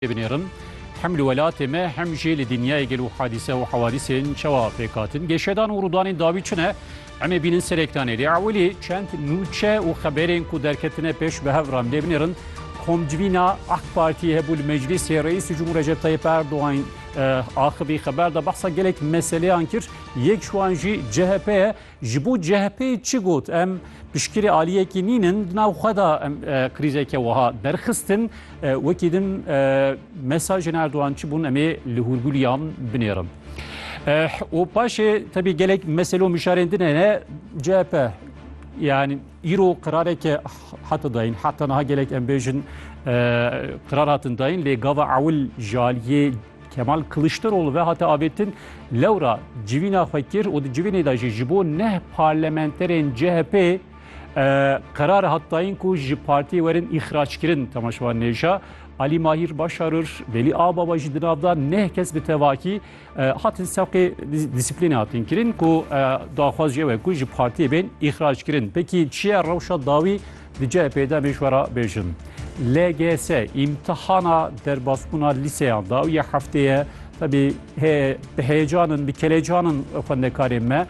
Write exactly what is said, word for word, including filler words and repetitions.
Binêrin, hem li welatê me hem jî li dinyayê gelo hadîse û hewadîsên çawa pêk hatin. Geşedan û rûdanên dawî çi ne? Em ê bînin serê ekranê. Lê ewilî çend nûçe û xeberên ku derketine pêş bi hev re em lê binêrin. Komcivîna AK Partiyê hebû li meclîsê, Reîsê Cumhur Recep Tayyip Erdogan, e, axivî xeber da behsa gelek meseleyan kir. Yek ji wan jî C H P ye. Ji bo C H P'yê çi got? Em piştgirê aliyekî nînin, di nav xwe de em, e, krîzeke wiha derxistin. E, wekî din, e, mesajên Erdogan çi bûn, em ê li hûrgulî yan binêrin. E, û paşê tebî gelek mesele û mişarên din hene. C H P, yani îro qirareke hate dayîn, heta niha gelek em bêjin, e, qirar hatin dayîn, lê gava ewil ji aliyê Kemal Kılıçdaroğlu ve hate avêtin. Lewra civîna xwe kir û di civînê de jî ji bo neh parlamenterên C H P, e, qerar hat dayîn ku ji partiyê werin îxraçkirin. Temaşevan nêja Alî Mahîr Başarır, Velî Agbaba jî di nav de neh kes bi tevakî, e, hatin sewqê dis-, disiplînê hatin kirin ku, e, daxwaz jî ew e ku ji partiyê bên îxraçkirin. Pekî çi ye rewşa dawî? Di C H P'ê de em ê ji we re bêjin. L G S, îmtihana derbasbûna lîseyan, dawiya heftê ye. Tebî he-, bi heyecanin, bi kelecanin xwendekarên me.